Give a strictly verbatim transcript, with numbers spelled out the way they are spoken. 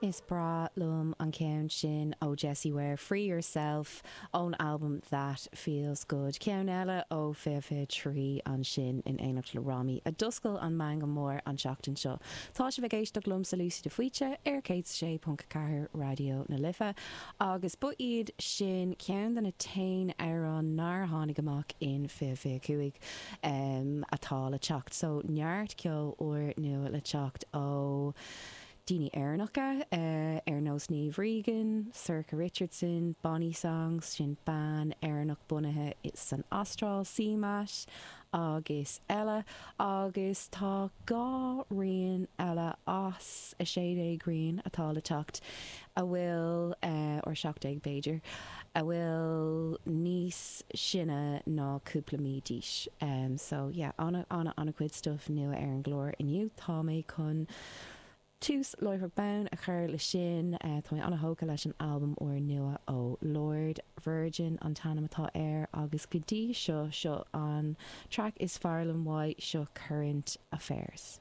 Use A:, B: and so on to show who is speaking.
A: Is breá liom an ceann sin ó Jessie Ware Free Yourself ón albam That Feels Good. Ceann eile ó fiche fiche trí ansin in éineacht le Rami a d'oscail an meangadh mór an tseachtain seo. Tá sibh ag éisteacht liomsa Lucy de Faoite ar céad sé ponc ceathair Raidió na Life agus ba iad sin ceann de na haon amhrán nár tháinig amach in fiche fiche cúig um, atá le teacht so neart ceol úr nua le teacht ó daoine Éireannacha uh, ar nós Niamh Regan, Sorcha Richardson, Bonnie Songs, sin bean Éireannach bunaithe san Astráil CMAT agus eile agus tá dhá rian eile as a sé déag rian atá le teacht a bhfuil uh, or seacht déag b'fhéidir a bhfuil níos sine ná cúpla mí d'aois. Um, so yeah, ana ana ana chuid stuff nua ar an gclár inniu tá mé chun tús láithreach bonn a chur le sin uh, tá mé an-tógtha leis an albam úr nua ó Lorde Virgin an t-ainm atá air agus go dtí seo seo an track is fearr liom uaidh seo Current Affairs.